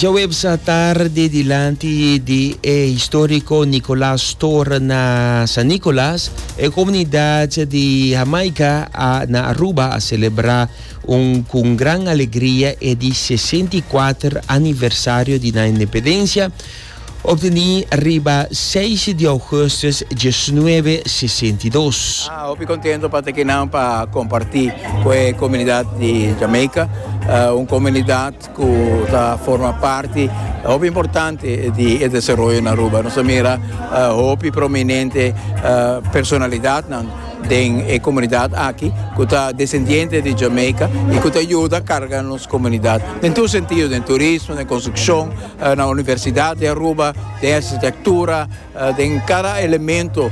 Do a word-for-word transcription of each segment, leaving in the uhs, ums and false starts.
Djaweps atardi dilanti di e historico Nicolaas Toren na San Nicolas, e comunidad di Jamaica a, na Aruba a celebra un, cu gran alegria e di sesenta i kuater aniversario di nan independencia, obteni riba seis di augustus diesnuebe sesenta i dos. Ah, hopi contento pa ta aki pa comparti cu e comunidad di Jamaica, uh, un comunidad cu ta forma parti hopi importante di desaroyo na Aruba. Nos a mira uh, hopi prominente uh, personalidad nan den e comunidad aki, cu ta descendiente di Jamaica y cu ta yuda carga nos comunidad. Den tur sentido, den turismo, den construccion, na Universidad di Aruba, den arkitectura, den cada elemento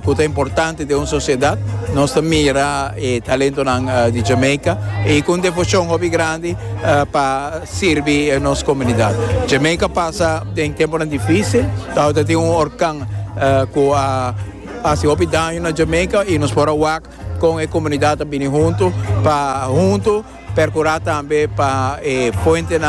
cu ta importante di un sociedad, nos ta mira e talento di Jamaica y cu devocion hopi grandi pa sirbi nos comunidad. Jamaica a pasa den tempo dificil, tin un orkan cu a haci hopi daño na Jamaica y nos por a wak cu e comunidad bini hunto pa hunto percura tambe pa eh, fuente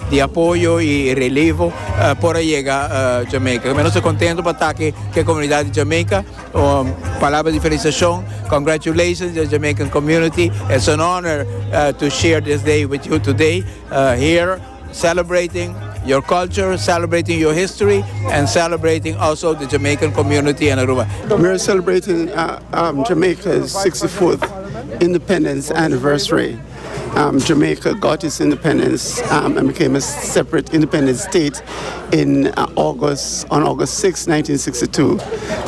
di apoyo y relevo uh, por yega uh, Jamaica. Mi ta contento pa ta aki cu e comunidad di Jamaica. Um, palabra di felicitacion. Congratulations, the Jamaican community. It's an honor uh, to share this day with you today uh, here, celebrating your culture, celebrating your history, and celebrating also the Jamaican community in Aruba. We're celebrating uh, um, Jamaica's sixty-fourth independence anniversary. Um, Jamaica got its independence um, and became a separate independent state in uh, August, on August sixth, nineteen sixty-two.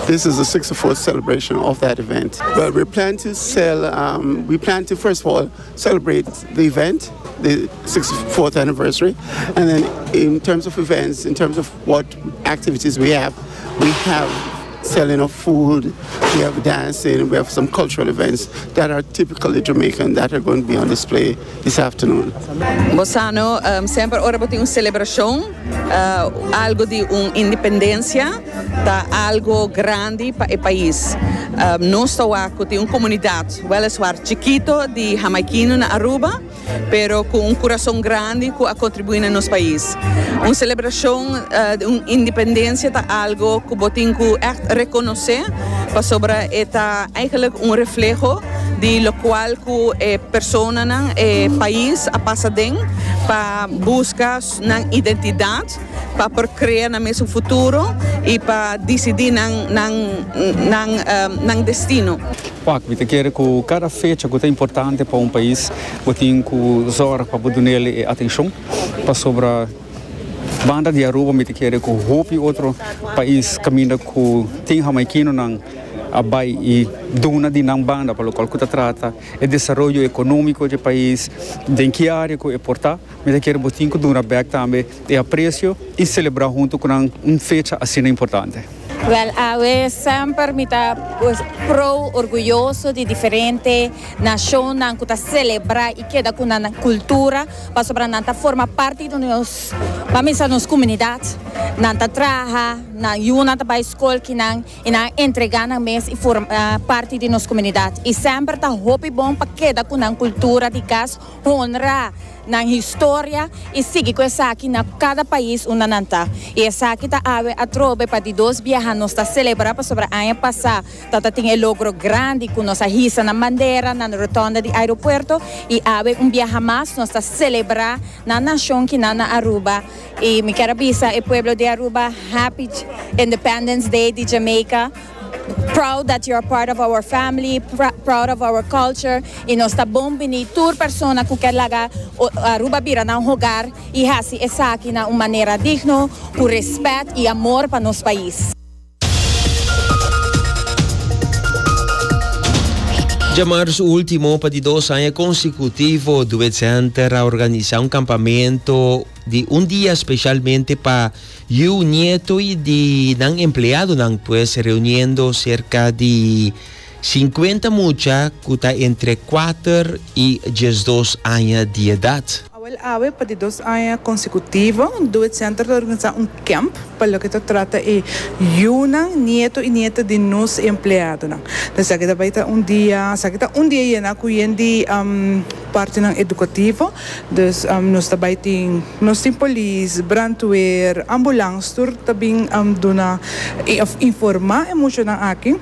This is the sixty-fourth celebration of that event. Well, we plan to sell, um, we plan to first of all celebrate the event, the sixty-fourth anniversary, and then in terms of events, in terms of what activities we have, we have selling of food, we have dancing, we have some cultural events that are typically Jamaican that are going to be on display this afternoon. Bo sa no, um, semper ora tin un celebracion, uh, algo di un independencia, ta algo grandi pa e pais. Um, nos ta tin un comunidad, weliswaar chikito di Jamaiquino na Aruba, pero cu un curason grandi cu a contribui na nos pais. Un celebracion uh, di un independencia ta algo cu bo tin cu echt reconoce, pasobra ta eigenlijk un refleho di locual cu e personanan, e pais a pasa den pa busca nan identidad, pa por crea nan mes futuro y pa dicidi nan nan nan um, nan destino. Wak, mi ta kere cu cada fecha cu ta importante pa un pais, bo tin cu zorg pa duna e atencion, pasobra banda di Aruba, mi ta kere cu hopi otro pais caminda cu tin Jamaiquino nan a bay y duna di nan banda pa loke cu ta trata e desaroyo economico di e pais, den ki area cu e por ta, mi ta kere bo tin cu duna back tambe e aprecio y celebra hunto cu un fecha asina importante. Wel, awe semper mi ta, pues, pro orguyoso di diferente nacion cu ta celebra y keda cu nan cultura, pasobra nan ta forma parti di nos, pa mi, nos comunidad. Nan ta traha, nan yiunan ta bay scol cu nan y nan entrega nan mes y forma uh, parti di nos comunidad. Y semper ta hopi bon pa keda cu nan cultura di cas, honra nan historia y sigui cu esaki na cada pais unda nan ta. Y esaki ta awe atrobe pa di dos biaha nos ta celebra, pasobra aña pasa tata tin e logro grandi cu nos a hisa nan bandera na rotonda di aeropuerto y awe un biaha mas nos ta celebra nan nacion cu nan na Aruba. Y mi kier bisa e pueblo di Aruba, Happy Independence Day di Jamaica. Proud that you're part of our family, pr proud of our culture. Y nos ta bon bini tur persona cu kier laga Aruba bira nan hogar y haci esaki na un manera digno, cu respet y amor pa nos pais. Diamars ultimo, pa di dos aña consecutivo, Duet Center a organisa un campamento di un dia specialmente pa yiu, nieto y di nan empleadonan, pues reuniendo cerca di cincuenta mucha cu ta entre cuater y diesdos aña di edad. Wel awe pa di dos aña consecutivo, Do It Center ta organisa un camp pa loke ta trata e yiunan, nieto y nieta di nos empleadonan. Dus aki ta bay ta un dia, aki ta un dia yena cu di um, partinan educativo. Dus um, nos tambe tin, nos tin polis, brandweer, ambulance, tur tambe um, duna of informa e muchanan aki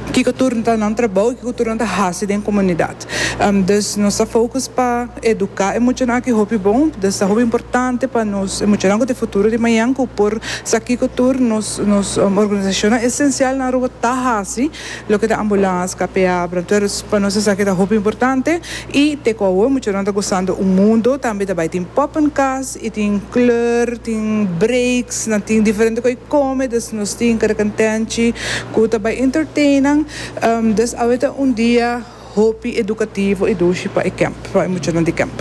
kico tur ta nan trabou, kico tur ta hasi den comunidad. Um, dus nos ta focus pa educa e muchanan aki hopi bon, dus ta hopi importante pa nos e muchanan di futuro di mañan cu por sa kico tur nos nos um, organisacion esencial na Aruba ta hasi, loke ta ambulance, K P A, brandweer, pa nos esaki ta hopi importante y te cu e muchanan ta gustando un mundo, tambe tambe tin poppenkast y tin kleur, tin breaks, nan tin diferente cos come, dus nos tin cada cantante, cu tambe entertain. Um, dus awe ta un dia hopi educativo y dushi pa e camp, pa e muchanan di camp.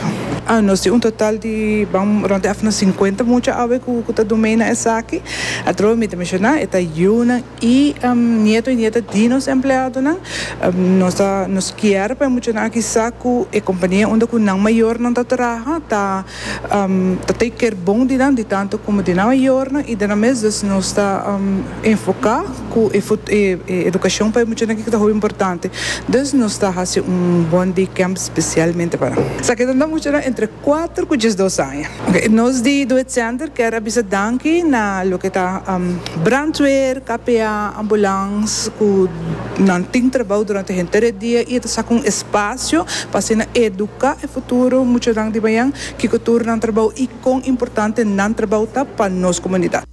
Ah, nos tin un total di ban rond di cincuenta mucha awe cu cu ta duna esaki. Atrobe mi ta menciona, e ta yiunan y um, nieto y nieta di nos empleadonan. Um, nos ta, nos kier pa muchanan aki sa cu e compania unda cu nan mayornan ta traha, ta um, ta take care bon di nan, di tanto como di nan mayornan y di nan mes, dus nos ta um, enfoca cu e, e, e educacion pa muchanan aki ta hopi importante. Dus nos ta haci un one day camp specialmente pa nan. Esaki ta muchanan entre cuater cu diesdos aña. Okay. Nos di Do It Center kier a bisa danki na loke ta um, brandweer, K P A, ambulance, cu nan tin trabou durante henter dia y ta saca un espacio pa asina educa e futuro muchanan di mañan, kico tur nan trabou y con importante nan trabou ta pa nos comunidad.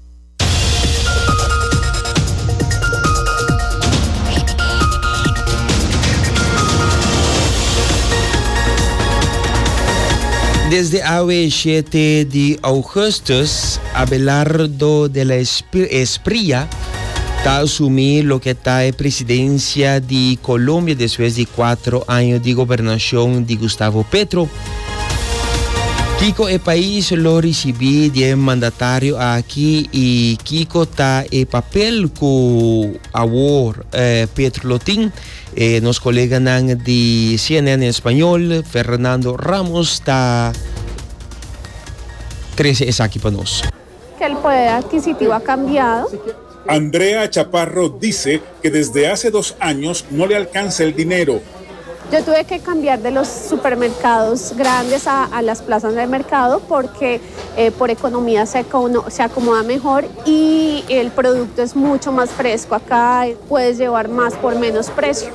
Desde awe shete di augustus, Abelardo de la Espriella ta asumi loke ta e presidencia di Colombia despues di cuater aña di gobernacion di Gustavo Petro. Kico e pais lo ricibi di e mandatario aki y kico ta e papel cu awor eh, Petro lo tin. Eh, nos coleganan di C N N en español, Fernando Ramos, ta trece esaki pa nos. Que el poder adquisitivo ha cambiado. Andrea Chaparro dice que desde hace dos años no le alcanza el dinero. Yo tuve que cambiar de los supermercados grandes a, a las plazas de mercado porque eh, por economía se, se acomoda mejor y el producto es mucho más fresco. Acá puedes llevar más por menos precio.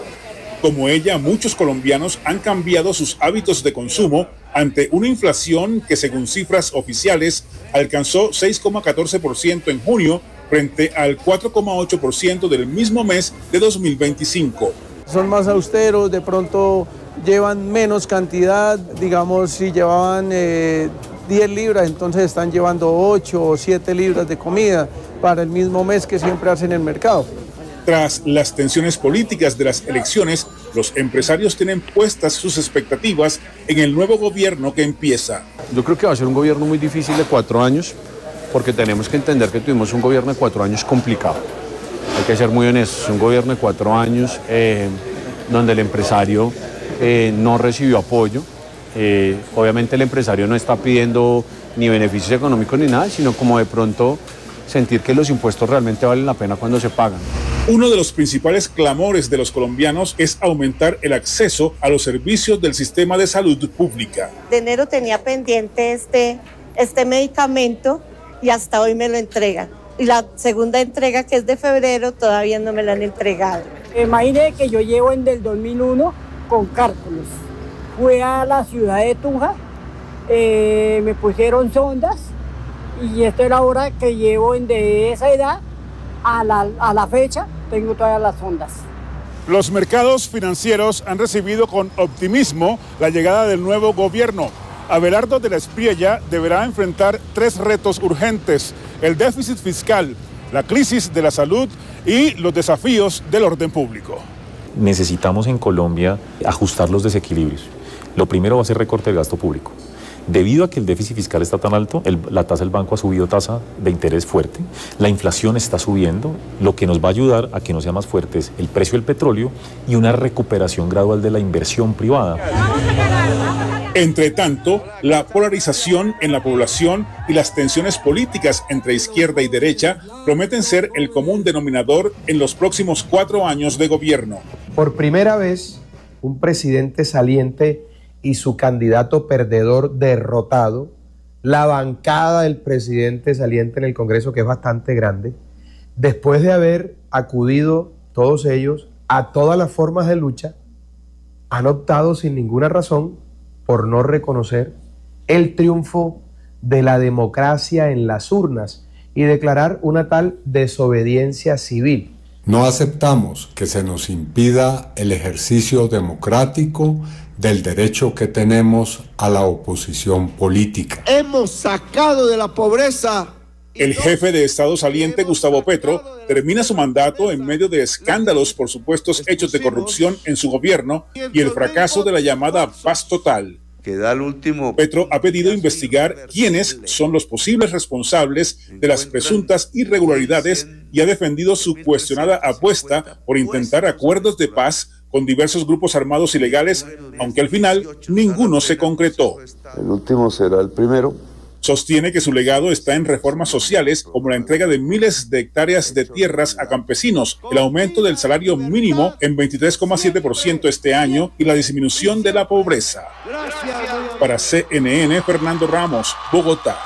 Como ella, muchos colombianos han cambiado sus hábitos de consumo ante una inflación que, según cifras oficiales, alcanzó seis coma catorce por ciento en junio frente al cuatro coma ocho por ciento del mismo mes de dos mil veinticinco. Son más austeros, de pronto llevan menos cantidad, digamos, si llevaban eh, diez libras, entonces están llevando ocho o siete libras de comida para el mismo mes que siempre hacen en el mercado. Tras las tensiones políticas de las elecciones, los empresarios tienen puestas sus expectativas en el nuevo gobierno que empieza. Yo creo que va a ser un gobierno muy difícil de cuatro años, porque tenemos que entender que tuvimos un gobierno de cuatro años complicado. Hay que ser muy honestos, un gobierno de cuatro años eh, donde el empresario eh, no recibió apoyo. Eh, obviamente el empresario no está pidiendo ni beneficios económicos ni nada, sino como de pronto sentir que los impuestos realmente valen la pena cuando se pagan. Uno de los principales clamores de los colombianos es aumentar el acceso a los servicios del sistema de salud pública. De enero tenía pendiente este, este medicamento y hasta hoy me lo entregan. Y la segunda entrega, que es de febrero, todavía no me la han entregado. Imagine que yo llevo en del dos mil uno con cálculos. Fui a la ciudad de Tunja, eh, me pusieron sondas y esta es la hora que llevo en de esa edad a la, a la fecha, tengo todas las sondas. Los mercados financieros han recibido con optimismo la llegada del nuevo gobierno. Abelardo de la Espriella deberá enfrentar tres retos urgentes: el déficit fiscal, la crisis de la salud y los desafíos del orden público. Necesitamos en Colombia ajustar los desequilibrios. Lo primero va a ser recorte del gasto público. Debido a que el déficit fiscal está tan alto, el, la tasa del banco ha subido tasa de interés fuerte, la inflación está subiendo, lo que nos va a ayudar a que no sea más fuerte es el precio del petróleo y una recuperación gradual de la inversión privada. Entre tanto, la polarización en la población y las tensiones políticas entre izquierda y derecha prometen ser el común denominador en los próximos cuatro años de gobierno. Por primera vez, un presidente saliente y su candidato perdedor derrotado, la bancada del presidente saliente en el Congreso, que es bastante grande, después de haber acudido todos ellos a todas las formas de lucha, han optado sin ninguna razón por no reconocer el triunfo de la democracia en las urnas y declarar una tal desobediencia civil. No aceptamos que se nos impida el ejercicio democrático del derecho que tenemos a la oposición política. Hemos sacado de la pobreza. El jefe de Estado saliente, Gustavo Petro, termina su mandato en medio de escándalos por supuestos hechos de corrupción en su gobierno y el fracaso de la llamada paz total. Que da el último. Petro ha pedido investigar quiénes son los posibles responsables de las presuntas irregularidades y ha defendido su cuestionada apuesta por intentar acuerdos de paz con diversos grupos armados ilegales, aunque al final ninguno se concretó. El último será el primero. Sostiene que su legado está en reformas sociales como la entrega de miles de hectáreas de tierras a campesinos, el aumento del salario mínimo en veintitrés coma siete por ciento este año y la disminución de la pobreza. Para C N N, Fernando Ramos, Bogotá.